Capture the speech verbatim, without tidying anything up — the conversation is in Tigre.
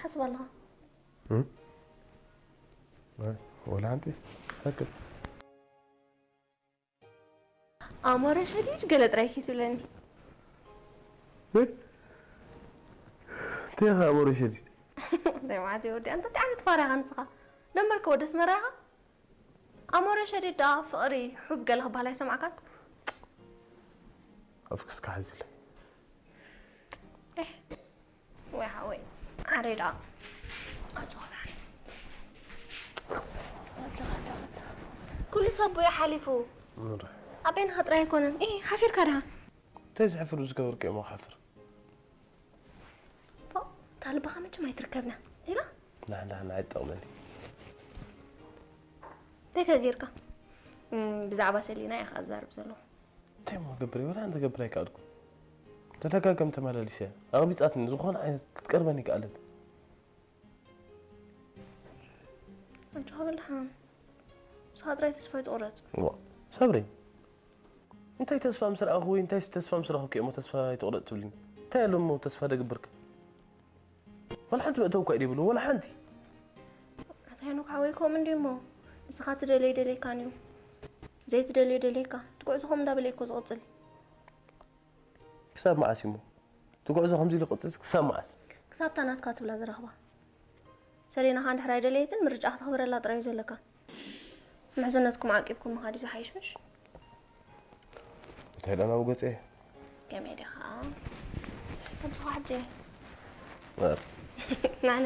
ሐስብ ኣለኻ? እም? ኣይ፣ ወላ ሓንቲ። ሰክት። ኣሞረ ሸዲድ ገለ ጥራይ ኪትብለኒ። እ? እንታይ ኢኻ ኣሞረ ሸዲድ? እንታይ ማለት እዩ ወዲ? ኣንተ እንታይ ዓይነት ፋራ ኢኻ ንስኻ? ደንበርክ ወደ ኣስመራ ኢኻ? ኣሞረ ሸዲድ ደኣ ፍቕሪ፣ ሑብ ገለ ክበሃል ኣይሰማዕካን? ኣፍክስካ ሓዝለይ። ኤህ፣ ወይ ሓወይ፣ ዓረይ ደኣ። ኣጆኻ ደሓን። ኣጆኻ፣ ኣጆኻ፣ ኣጆኻ። ኩሉ ሰብ ብኡ ሓሊፉ። ምንድን? ኣቤንኻ ጥራይ ኣይኮነን። ኤህ፣ ሓፊርካ ደሓን። እንታይ ዝሕፍር ዝገበርኩ እየ እሞ ክሓፍር? ፖእ፣ እታ ልብኻ መቸም ኣይትርከብና ኢላ። ናህ፣ ናህ፣ ናህ፣ ኣይትጠቕመኒ። እንታይ ከ ጌርካ? እም፣ ብዛዕባ ሰሊና ኢኻ ኣዛርብ ዘለኹ። እንታይ እሞ ክገብር እየ? ወላ ሓንቲ ክገብር ኣይከኣልኩን። ተደጋጋሚ ተመላሊሰ ኣቕቢጻትኒ፣ ዝኾነ ዓይነት ክትቀርበኒ ኣይከኣለት። ኣጆኻ በል ደሓን። ንስኻ ጥራይ ተስፋ ኣይትቑረጽ። ዋ፣ ሳብሪ፣ እንታይ ተስፋ ምስ ረኣኹ ወይ እንታይ ተስፋ ምስ ረኣኹ እኮ እሞ ተስፋ ኣይትቑረጽ ትብልኒ? እንታይ ኣሎ እሞ ተስፋ ደግብርከ? ወላ ሓንቲ መእተዊ እኳ እዩ ዘይብሉ፣ ወላ ሓንቲ። ኣታ ሄኖክ ሓወይ፣ ከምኡ እንድዩ እሞ፣ ንስኻ ትደልዮ ኣይደልየካን እዩ። ዘይትደልዮ ደልየካ። እቲ ጉዕዞ ከምኡ እንዳበለ እዩ እኮ ዝቕጽል። ክሳብ መዓስ እዩ እሞ? እቲ ጉዕዞ ከምዚ ኢሉ ክቕጽል ክሳብ መዓስ? ክሳብ እታ ናትካ ትብላ ዝረኽባ። ሰሌና ከኣ እንድሕር ኣይደለየትን፣ ምርጫ ከተኽብረላ ጥራይ እዩ ዘለካ። ምሕዝነትኩም ዓቂብኩም ምኻድ እዩ ዝሓይሽ፣ ምሽ? እንታይ ደኣ ናብኡ ገጸ? ከመይ ዲኻ? ኣጆኻ ሕጂ። ኧረ። ናነ።